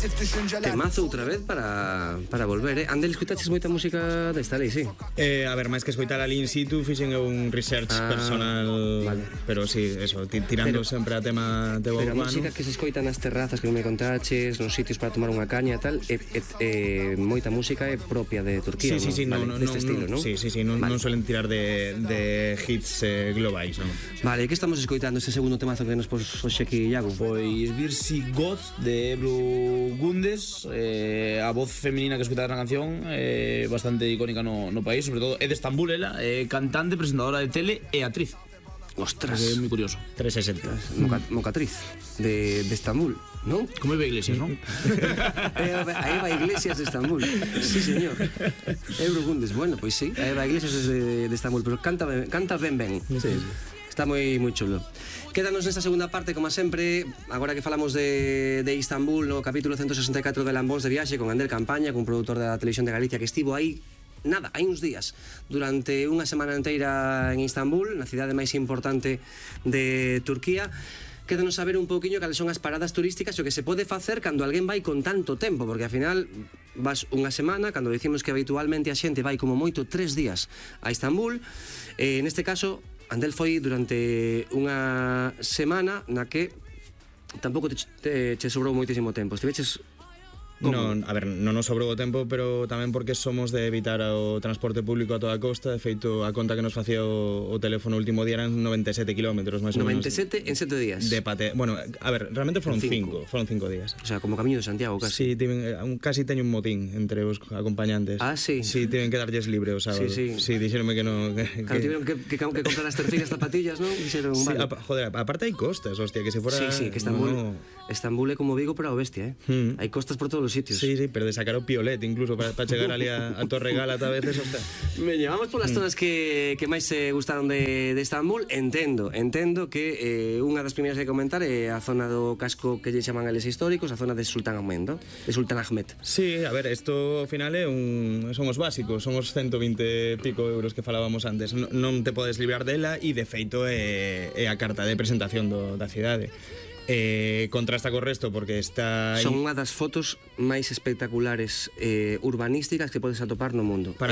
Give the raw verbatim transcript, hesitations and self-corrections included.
Temazo outra vez para, para volver, eh? Andel, escoitaches moita música desta lei, sí? Eh, a ver, máis que escoitar ali in situ, fixen un research Ah, personal, vale. pero sí, eso, ti- tirando Pero- sempre a tema de Pero a urbano. música que se escoita nas terrazas que non me contaches, nos sitios para tomar unha caña e tal, é, é, é moita música é propia de Turquía, Sí, sí, sí, vale, no, no, deste no, estilo, no, non? sí, sí, sí, non, Vale. non suelen tirar de, de hits eh, globais, non? Vale, que estamos escoitando este segundo temazo que nos pos hoxe aquí, Iago? Pois Virsi God de Ebru Gundes, eh, a voz femenina que escutada na canción, eh, bastante icónica no, no país, sobre todo é de Estambul, ela, é cantante, presentadora de tele e actriz. Ostras, É moi curioso. trescientos sesenta. Moca, mocatriz de, de Estambul, non? Como Eva Iglesias, non? A Eva Iglesias de Estambul. Sí, señor. Ebru Gundes, bueno, pois sí, a Eva Iglesias es de, de Estambul, pero canta ben, canta ben ben. Sí. Está moi moi chulo. Quédanos nesta segunda parte, como sempre, agora que falamos de, de Istambul, no capítulo ciento sesenta e catro de Lambóns de Viaxe, con Ander Campaña, cun produtor da Televisión de Galicia que estivo aí nada, hai uns días, durante unha semana inteira en Istambul, na cidade máis importante de Turquía. Quédanos saber un pouquiño cales son as paradas turísticas e o que se pode facer cando alguén vai con tanto tempo, porque ao final vas unha semana, cando dicimos que habitualmente a xente vai como moito tres días a Istambul, e neste caso Andel foi durante unha semana na que tampouco te, te, te sobrou moitísimo tempo. Estiveches Non, a ver, non nos sobrou o tempo, pero tamén porque somos de evitar o transporte público a toda costa. De feito, a conta que nos facía o, o teléfono o último día eran noventa e sete kilómetros, máis ou menos. noventa e sete en sete días. De pate... Bueno, a ver, realmente foron Cinco. cinco, foron cinco días. O sea, como Camiño de Santiago, casi. Sí, tiven, eh, un, casi teño un motín entre os acompañantes. Ah, sí. Sí, tiven que darlles libre o sábado. Sí, sí. Sí, dixeronme que non... Que, Claro, tiveron que, que, que comprar as terceiras zapatillas, non? Dixeron, Sí, vale. a, joder, aparte hai costas, hostia, que se fuera... Sí, sí, que Estambul, No, no. Estambul é como Vigo pero a bestia, eh? Mm. Hai costas por todos os sitios. Sí, sí, pero de sacar o piolet incluso para pa chegar ali a, a Torre Gálata a veces, hostia. Veña, vamos polas zonas que, que máis se gustaron de, de Estambul. Entendo, entendo que eh, unha das primeiras que comentar é a zona do casco que lle chaman eles históricos, a zona de Sultan Ahmed, ¿no? De Sultan Ahmed. Sí, a ver, isto ao final é un... son os básicos, son os ciento vinte pico euros que falábamos antes. Non, non te podes librar dela e de feito é, é a carta de presentación do, da cidade. Eh, contrasta co resto porque está... Son unha das fotos máis espectaculares eh, urbanísticas que podes atopar no mundo. Para Esa